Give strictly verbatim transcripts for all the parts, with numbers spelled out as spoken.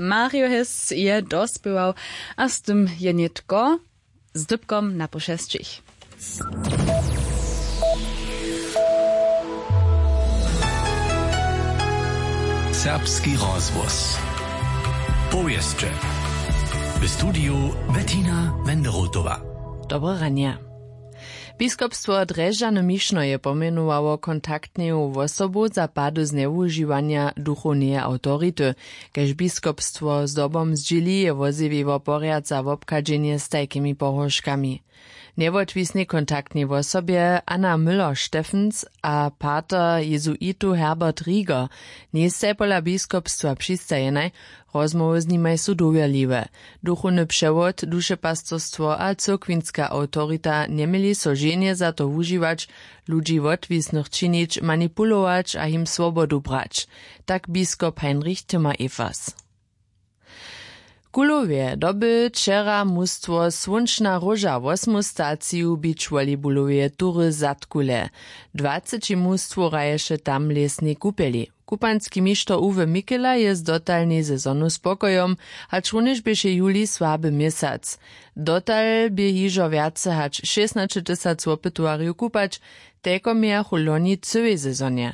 Mario Hess je dospěwał, a z tym je nětko z dypkom na pół šesćich. Serbski rozhłos. Powěsće. W studiju Bettina Wenderotowa. Dobre ranje. Biskopstwo Drježdźany Mišno je pomjenowało kontaktneju wosobu za pady znjewužiwanja duchowneje awtority. Kaž biskopstwo zdobom zdźěli, je wozjewiło porjad za wobchadźenje z tajkimi pohróžkami. Njewotwisnej kontaktnej wosobje Anna Müller-Steffens a pater jezuitow Herbert Rieger njejstaj pola biskopstwa přistajenaj. Rozmołwy z nimaj su dowěrliwe. Duchowny přewod, dušepastorstwo a cyrkwinska awtorita njeměli so ženje za to wužiwać, ludźi wotwisnych činić, manipulować a jim swobodu brać. Tak biskop Heinrich Timmer-Evers. W Kulowje doby wčera mustwo Słónčna róža wosmu staciju beach volleyballoweje tury Zadkule. Dwaceći mustwow hraješe tam w lěsnej kupjeli. Kupanski mišter Uwe Mikela je z dotalnej sezonu spokojom, hačrunjež běše juli słaby měsac. Dotal bě hižo wjace hač šěsnaćetysac wopytowarjow kupać, telko mějachu loni w cyłej sezonje.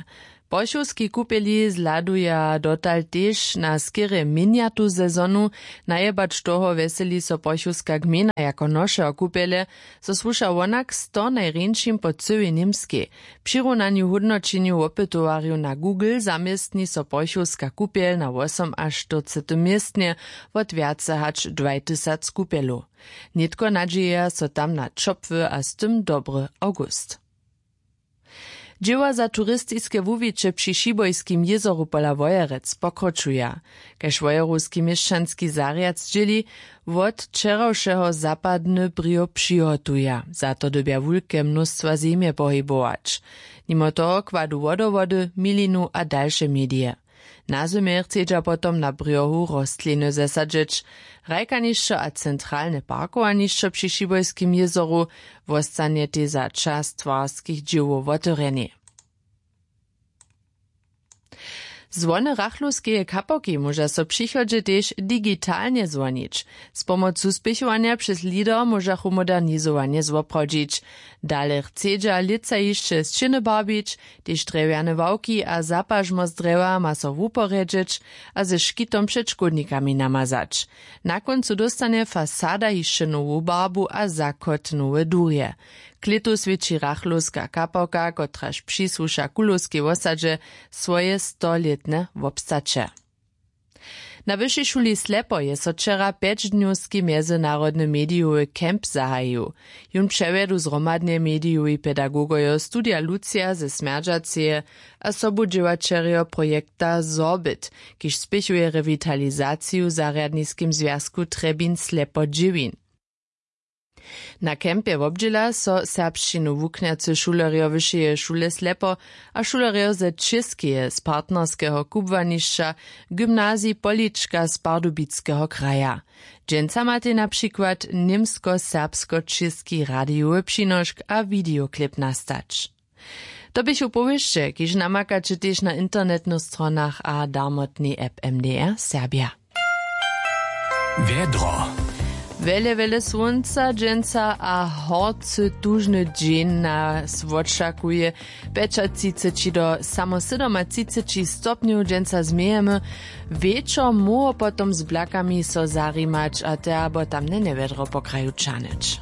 Pochowski kupjeli zhladuja dotal tež na skerje měnjatu sezonu. Najebać toho wjeseli so pochowska gmejna jako nošeho kupjele, zo słuša wonak sto najrjeńšim po cyłej Němskej. Při runanju hódnoćenju wopytowarjow na Google zaměstni so pochowska kupjel na wosomaštyrcetym městnje wot wjace hač dwaj tysac kupjelow. Nětko nadźějeja so tam na ćopły a z tym dobry awgust. Dźěła za turistiske wuwiće při Šibojskim jězoru pola Wojerec pokročuja. Kaž wojerowski měšćanski zarjad zdźěli, wot wčerawšeho zapadny brěh přihotuja. Za to dyrbja wulke mnóstwa zemje pohibować. Nimo toho kładu wodowody, milinu a dalše medije. Na zymje chcedźa potom na brjohu rostliny zesadźeć. Hrajkanišćo a centralne parkowanišćo při Šibojskim jězoru wostanjetej za čas twarskich dźěłow wotewrjenej. Zwony rachlowskeje kapałki móža so w přichodźe tež digitalnje zwonić. Z pomocu spěchowanja přez lider móžachu modernizowanje zwoprawdźić. Dale chcedźa lětsa hišće sćěny barbić, tež drjewjane ławki a zapažmo z drjewa ma so wuporjedźeć a ze škitom před škódnikami namazać. Na kóncu dóstanje fasada hišće nowu barbu a zakot nowe durje. Klětu swědči rachlowska kapałka, kotraž přisłuša kulowskej wosadźe, swoje stolětne wobstaće. Na wyšej šuli Slepo je so wčera pjećdnjowski mjezynarodny medijowy camp zahajił. Jón přewjedu zhromadnje medijowi pedagogojo studija Lucija ze Smjerdźaceje a sobudźěłaćerjo projekta Sorbit, kiž spěchuje rewitalizaciju w zarjadniskim zwjazku Trjebin Slepo dźěwin. Na campje wobdźěla so serbšćinu wuknjacy šulerjo wyšeje šule Slepo a šulerjo ze Čěskeje z partnerskeho kubłanišća, gymnazij Polička z Pardubickeho kraja. Dźensa matej na přikład němsko-serbsko-čěski radijowy přinošk a wideoklip nastać. To běchu powěsće, kiž namakaće tež na internetnych stronach a darmotnej app M D R Serbja. Wjedro. Wjele wjele słónca dźensa a horcy tužny dźeń nas wočakuje. Pjećatřiceći do samo sydomatřiceći stopnjow dźensa změjemy. Wječor móhło potom z blakami so zarimać a te abo tamne njewjedro po kraju ćahnyć.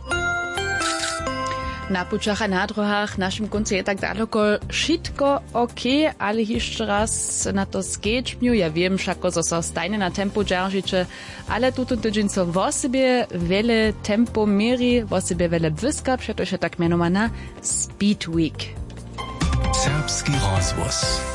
Na pućach a na dróhach w našim kóncu je tak daloko wšitko ok. Ale hišće raz na to skedźbnju, ja wěm wšako zo so stajnje na tempu dźeržiće, ale tutón tydźeń so wosebje wjele tempow měri, wosebje wjele błyska, přetož je tak mjenowana Speed Week. Serbski rozhłos.